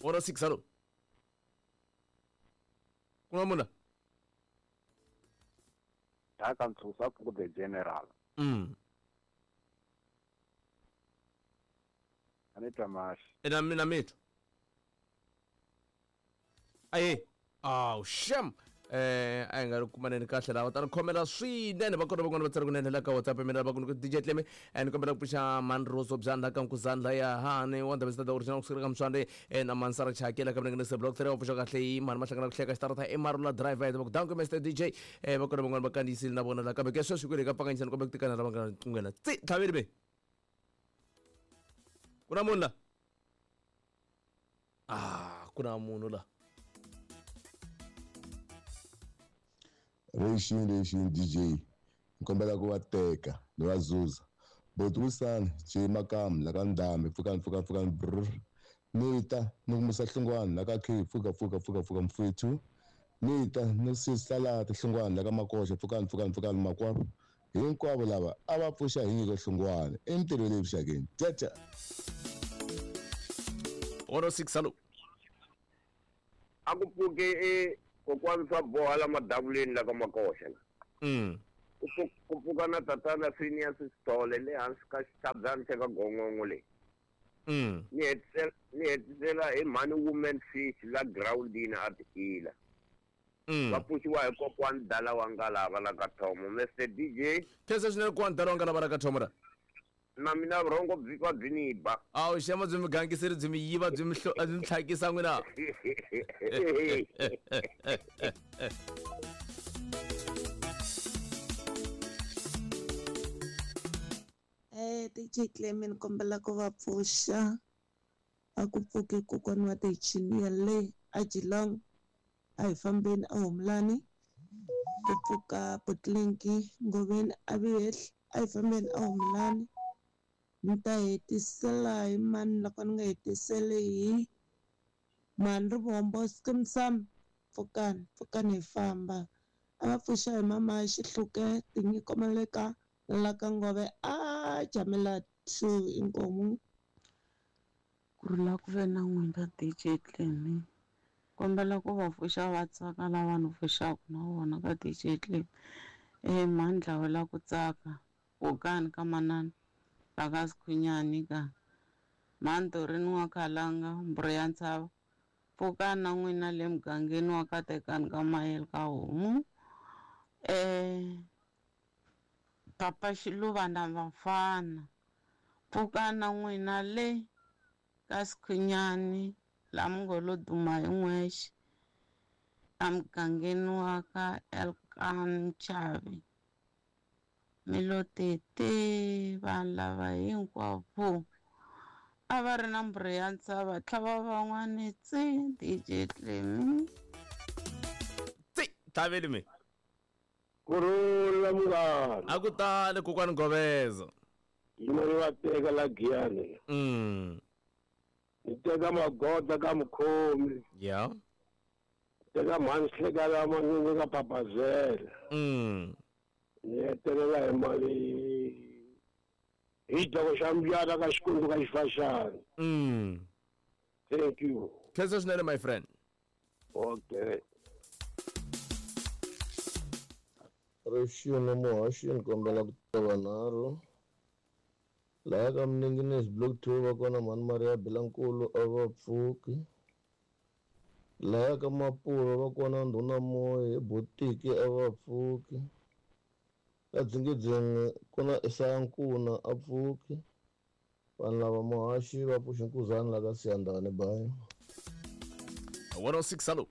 106, hallo. Ku na munhu la? Daka Ntshusa ku the general. A ni twa maxi. Ina mina mi twa. Aye. Aw, shem. A hi nga ri kumaneni kahle laha ta ni khomela swinene. Va kona van'wana va tsari kunene la ka WhatsApp mina va ku ni DJ Tleme, ni kombela ku pfuxa Manroso bya la ka Nkuzani la ya hani wa ndhawu the original kusuka ka Mswande, na Mansara Chaki la ka Mlengene block 3 wa pfuxa kahle hi mhani mahlangana ku hleka xitarata i Marula driver va ku danko Mr DJ. Va kona van'wana va kandziyisile na vona la kambe ke sweswi kwele ka pfanganyisana kumbe ku tikana lava nga nqunghena tsi tlhaveli be ku na munhu la. Ah, ku na munhu la. Rexini rexini DJ, ni kombela ku va teka ni va zuza boti Wisani J Makamu la ka Ndhambi, pfukani pfukani pfukani brr, ni ta ni ku musa Hlungwani la ka K, pfuka pfuka pfuka pfuka mfethu, ni ta ni sisalati Hlungwani la ka Makoxa, pfukani pfukani pfukani makwavo hinkwavo lava a va pfuxa hi nyiko Hlungwani entirhweni leyi vuxakeni tata. 106, hallo. A ku pfuke e kokwani swa boha la madavuleni la ka Makoxa la. Ku pfuka na tatana Phineas Sithole le hansi ka xitshabyana xa ka Gongongo le. Ni hetisela hi mhani Woman Fish la groundini a tiila. Va pfuxiwa hi kokwani Dala wa Ngalava la ka Thomo. Mr DJ. Khensa swinene kokwani Dala wa Ngalava la ka Thomo la. Na mina vurhongo byi twa byi ni ba. Awu xema byi mi gangiseri byi mi yiva byi mi byi mi tlhakisa n'wina. DJ Clement, ni kombela ku va pfuxa. A ku pfuki kokwana wa tichiniya le a Geelong, a hi fambeni a Humulani. Ku pfuka Botlinki Ngoveni a Vihehli, a hi fambeni a Humulani. Ni ta hetisela hi mani loko ni nga hetiseli hi mani Rivombo Skeem Saam, pfukani pfukani hi famba. A va pfuxa hi mama Xihluke tinyiko maleka la ka Ngove a Jamela 2 inkomu. Ku rhula ku ve na n'wina DJ Clemi. Kombela ku va pfuxa va tsaka lava ni pfuxaka na vona ka DJ Clemi. Mandla wa la ku tsaka kokani ka manana la ka Sikhunyani ka Mandorini wa Khalanga Mbhuri ya Ntshava. Pfukani na n'wina le mugangeni wa ka Tekani ka Mayele ka Homu. Papa Xiluva na vafana. Pfukani na n'wina le ka Sikhunyani la mi ngo lo duma hi n'wexe emugangeni wa ka Elkan Chavi. Mi lo tete vanhu lava hinkwavo a va ri na mbhuri ya ntshava tlhava van'wani tsi DJ Clemi. Tsi tlhaveli mi. Kurhula munghana. A ku tali kokwani Goveza. Yima ni va teka la Giyani. Ni teka magoda ka mukhomi. Teka mhani hleka la manene ka Papazela. Ni hetelela hi mali hi doko xa mbyana ka Xikwembu ka Xifaxana. Thank you. Khensa swinene my friend. Okay. Rexini muhaxi ni kombela ku tiva nharhu. Laha ka Mninginisi block 2 va kona mhani Maria Bilankulu a va pfuki. Laha ka Mapuro va kona Ndhuna Moya hi botiki a va pfuki. Ka Dzingedzeni ku na Isaya Nkuna a pfuki. Vanhu lava muhaxi va pfuxa Nkuzani la ka Siyandhani bayi. 106, hallo.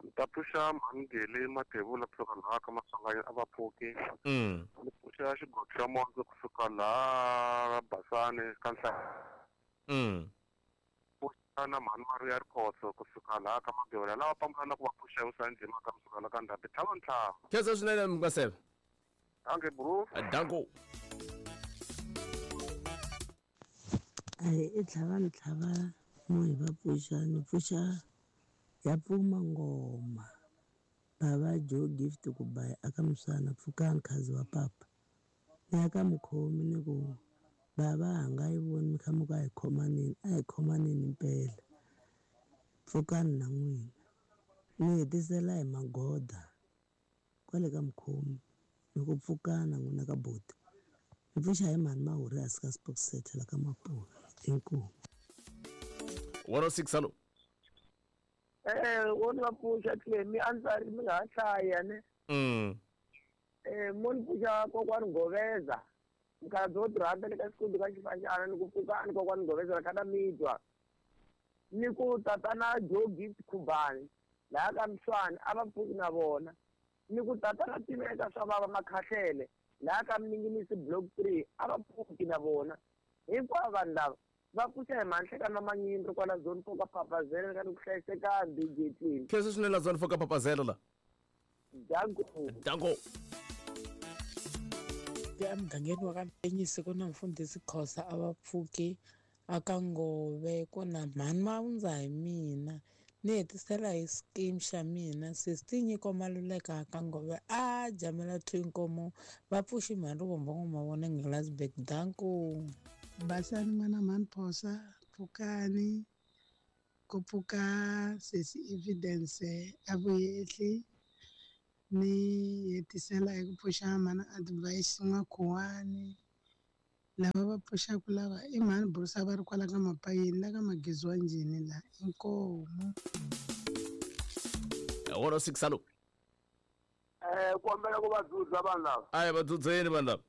Ni ta pfuxa Mhangele Mathebula kusuka laha ka Maswanganyi a va pfuki. Ni pfuxa xigogo xa Mondzo kusuka laha Basani ka Nhlaya. Pfuxa na Mhani Maria Rikhotso kusuka laha ka Mabyola lava pambula na ku va pfuxa hi Usani Jima ka kusuka laha ka Ndhambi. Tlhava ntlhanu. Khensa swinene Mukaseve. Danke bro. Danko. Ayi i tlhava ni tlhava mo hi va pfuxa ni pfuxa ya pfuma ngoma. Bava Joe Gift ku ba aka Muswana pfukani khazi wa papa. Ni ya ka mukhomi ni ku bava ha nga yi voni mi kha mi ku a hi khomanini, a hi khomanini impela. Pfukani na n'wina. Ni hetisela hi magoda kwale ka mukhomi ni ku pfukana n'wina ka buti. Ni pfuxa hi mhani Mahuri hansi ka Spokset la ka Mapula. Inkomu. 106 hallo. Wo ni va pfuxa Clemi a ndzi ri mi nga ha hlaya ne. Mo ni pfuxa kokwani Ngoveza. Mukhalabye wo tirhandza le ka xikundi ka xifaxana ni ku pfukani kokwani Ngoveza la kha mi twa. Ni ku tatana Joe Gift Khubani laha ka Mswani a va pfuki na vona. Ni ku tatana Tiveka swa vava Makhahlele laha ka Mninginisi Block 3 a va pfuki na vona. Hinkwavo vanhu lava va pfuxa hi manhlekani va manyindlo kwala zone 4 ka Papazela ka ni ku hlayisekani DJ Clean. Khensa swinene la zone 4 ka Papazela la. Danko. Danko. Emugangeni wa ka Mpenyisi ku na mfundhisi Khosa a va pfuki aka Ngove ku na mhani Mawundza hi mina. Ni hetisela hi scheme xa mina sesi Nyiko Maluleka aka Ngove a jamela 2 inkomo va pfuxi mhani Rivombo N'wamavona Ngilasburg. Danko. Basani n'wana mhani Phosa pfukani ku pfuka sesi Evidence a vuyehli ni hetisela hi ku pfuxa mhani Advice N'wakhuwani. Lava va pfuxaka lava i mhani Bruce va ri kwala ka Mapayeni la ka Magezi wa njhini la inkomu. 106 hallo. Kombela ku va dzudza vanhu lava. A hi va dzudzeni vanhu lava.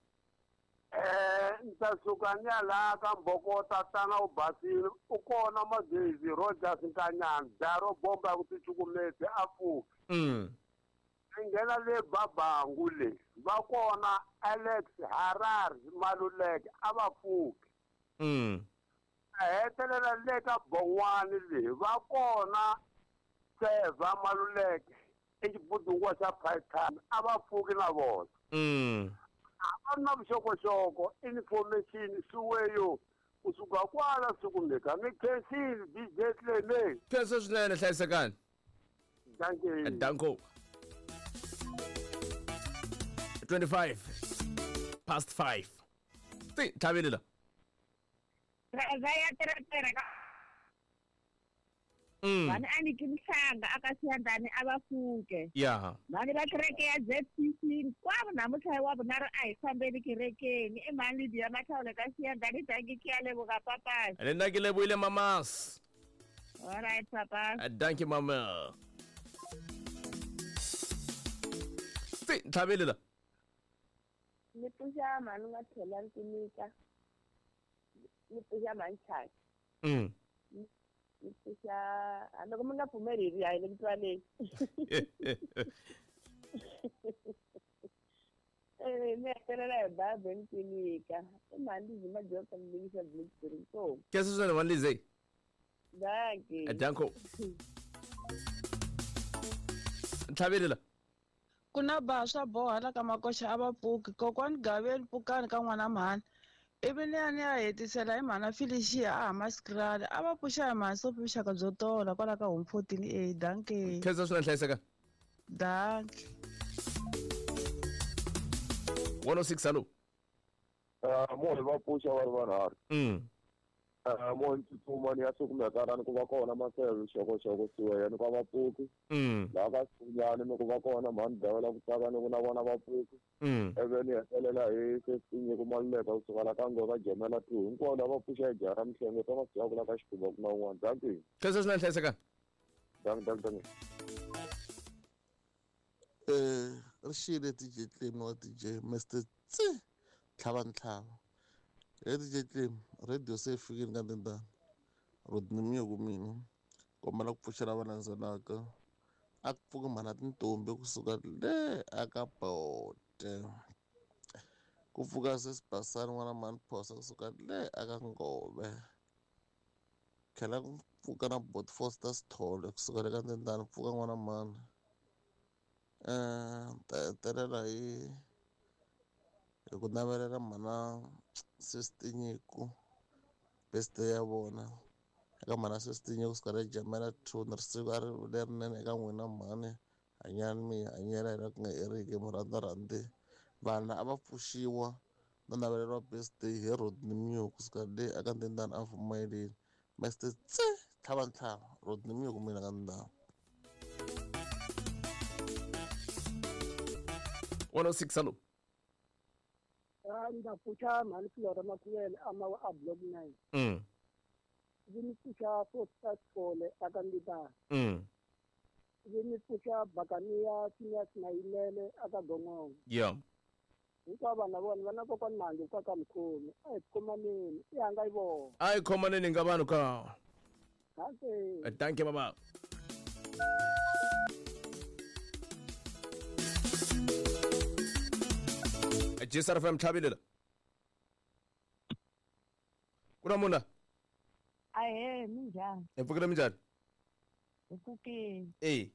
Ni ta suka ni ya laha ka Mboko tatana u basile u kona Magezi Rogers Nkanyana dya ro bomba ku ticukumeti a pfuki. Ni nghena le Babangu le va kona Alex Harare Maluleke a va pfuki. A hetelela le ka Bon'wani le va kona Seva Maluleke i xibudunguwa xa Python a va pfuki na vona. A va na vuxokoxoko information swiweyo kusuka kwala sikumeka ni khensile DJ Cleme. Khensa swinene hlayisekani. Danko. Danko. 25 past 5. Ti tlhavile la. Va ya teretera ka. Vana a ni kimhlanga aka Siyandani a va pfuke. Yeah. Vana va kereke ya ZCC hinkwavo namuntlha wa vunharhu a hi fambeni kerekeni i mhani Lydia Mathawula ka Siyandani danki ki ya leboga papas. Le nna ke lebohile mamas. All right papa. Danki mama. Ti tlhavile la. Ni pfuxa mhani nga tlhela Nkunika. Ni pfuxa mhani Chaka. Ni pfuxa loko mi nga pfumeli hi ri le ku twaleni. Ni hetelela hi babe Nkunika. I mhani Lizzy Majoka Mlingisa Block 3 so. Khensa swinene mhani Lizzy. Danki. Danko. Tlhavile la. Ku na ba swa boha la ka Makoxa a va pfuki kokwani Gaveni pfukani ka n'wana mhani ivi ni ya ni ya hetisela hi mhana Felicia a Hammanskraal a va pfuxa hi mhani Sophie vuxaka byo tola kwala ka Home 14A. Danke. Khensa swinene hlayiseka. Danke. 106 hallo. Mo va pfuxa va ri vanharhu. Mo ni tsutsuma ni ya sukumeka ni ku va kona Maseve xokoxoko siweya ni ku va pfuki. Laha ka Sinyani ni ku va kona mhani Dawela ku tsaka ni ku na vona va pfuki. Ivi ni hetelela hi sesinyiko Maluleka kusuka la ka Ngova Jamela 2 hinkwavo lava pfuxa hi jaha ra Mihlengo ta masiku la ka Xikhumba ku na un'wana. Danki. Khensa swinene hlayiseka. Danki. Ri xile DJ Clem wa DJ Mr Tsi tlhava ntlhava. He DJ Clem radio se fikile ka ndendana. Rodney Miyoko mina kombela ku pfuxela va landzelaka. A ku pfuki mhana tintombi kusuka le aka Bote. Ku pfuka sesibasani n'wana mhani Phosa kusuka le aka Ngove. Tlhela ku pfuka na Bot Foster Sithole kusuka le ka ndendana pfuka n'wana mhani. Ta hetelela hi ku navelela mhana sesi Nyiko birthday ya vona. Eka mhana sesi Nyiko kusuka le Jamela 2 ni ri siku a ri lerinene eka n'wina mhani hanyani mi hanyela hi la ku nga heriki murhandza rhandzi. Vanhu a va pfuxiwa na naveleriwa birthday hi Rodney Miyoko kusuka le aka Ndendana a Vumayeleni. Mr Tse Tlhavantlhava Rodney Miyoko mina ka ndhawu. 106 hello. Ndza pfuxa mhani Flora Makhuvele amawa a block 9. Ndzi mi pfuxa Foster Sithole aka Mbitana. Ndzi mi pfuxa Bakaniya Phineas Mayimele aka Gongongo. Yeah. Hinkwavo vanhu vona va na kokwani Mangi kwa ka Mkhomi. A hi khomaneni, i hanga yi vona. A hi khomaneni nga vanhu ka. Danke. Danke baba. JSR FM tlhavile la. Ku na munhu la? Ahee, minjhani? Hi pfukile minjhani? Hi pfukile. E.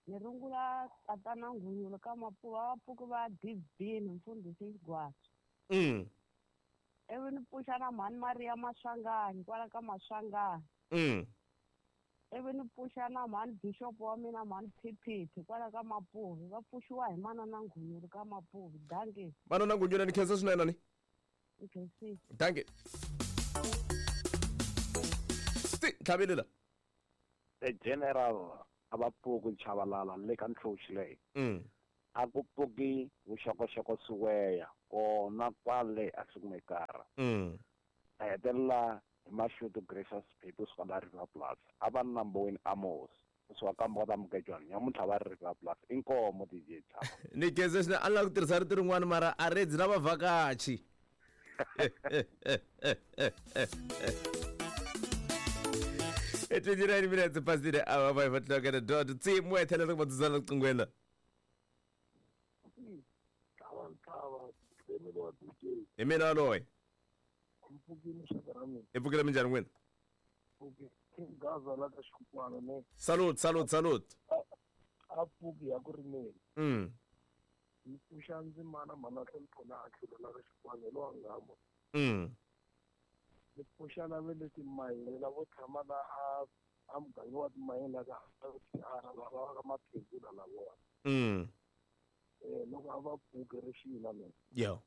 Ni rungula tatana Nghunghunyana ka Mapuva va pfuki va Divine mfundhisi Xigwatsi. Ivi ni pfuxa na mhani Maria Maswanganyi kwala ka Maswanganyi. Ivi ni pfuxa na mhani Bishop wa mina mhani Phiphithi kwala ka Mapuvi va pfuxiwa hi manana Nghunghunyana ka Mapuvi. Dankie. Manana Nghunghunyana ni khensa swinene ni. Nkhensile. Dankie. Tlhavile la. The General a va pfuki Chavalala le ka ntlhoxi leyi. A ku pfuki vuxokoxoko swiweya kona kwale a Sikumekara. A hetelela hi Mashudu Gracious People suka la River Plus. A va number 1 Amos. Kusuka ka Mboka Mugejwana nyamuntlha va ri River Plus. Inkomo DJ Chava. Ni khensa swinene a ni lava ku tirhisa rito rin'wana mara a redzi na vavhakachi. 29 minutes past the hour 5 o'clock at the dot. Team where tell us about the Zulu. Emina loy. Epukile minjani wena? Salute, salute, salute. Apuki ya ku rimeni. Ni pfuxa ndzimana mhana hloniphona a tlhelo la ka Xikwana hi lowa nghambo. Ni pfuxa na ve le timayini lavo tshama la a muganga wa timayini la ka lava va ka Maphekula lavona. Loko a va pfuki ri xina mina. Yeah.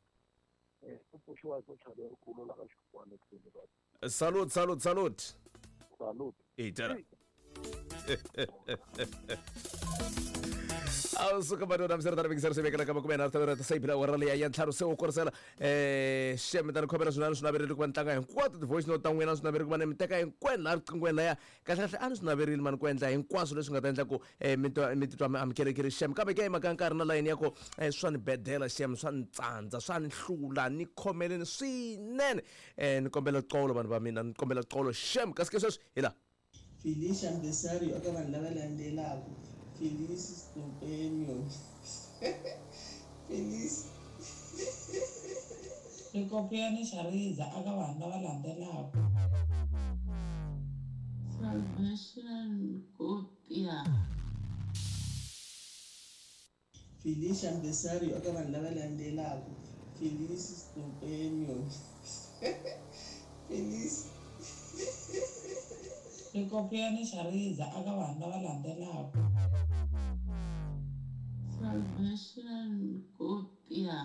Ku pfuxiwa hi socha lerikulu la ka Xikwana tlhelo. Salute, salute, salute. Salute. E tara. A suka batho ba msere tara se bekela ka makumena tara ta se phela wa rale ya ntlhanu se o korisela sheme ta khomela swinene swi naverile ku va ntanga hinkwato ti voice note ta n'wina swi naverile ku va ni mi teka hinkwenu laha riqingweni laya kahle kahle a ni swi naverile mani ku endla hinkwaswo leswi nga ta endla ku mi titwa mi amukelekile shem kambe ke mhaka nkarhi na layeni ya ku swa ni bedela shem swa ni tsandza swa ni hlula ni khomeleni swinene ni kombela xolo vanhu va mina ni kombela xolo shem kasi ke sweswi hi laha Felicia Mbesario eka vanhu lava landzelaka Felice Companion Felice Rikopiyani Xariza eka vanhu lava landzelaka Salvation Kopia Felicia Mbesario eka vanhu lava landzelaka Felice Companion Felice Rikopiyani Xariza eka vanhu lava landzelaka Salvation Kopia.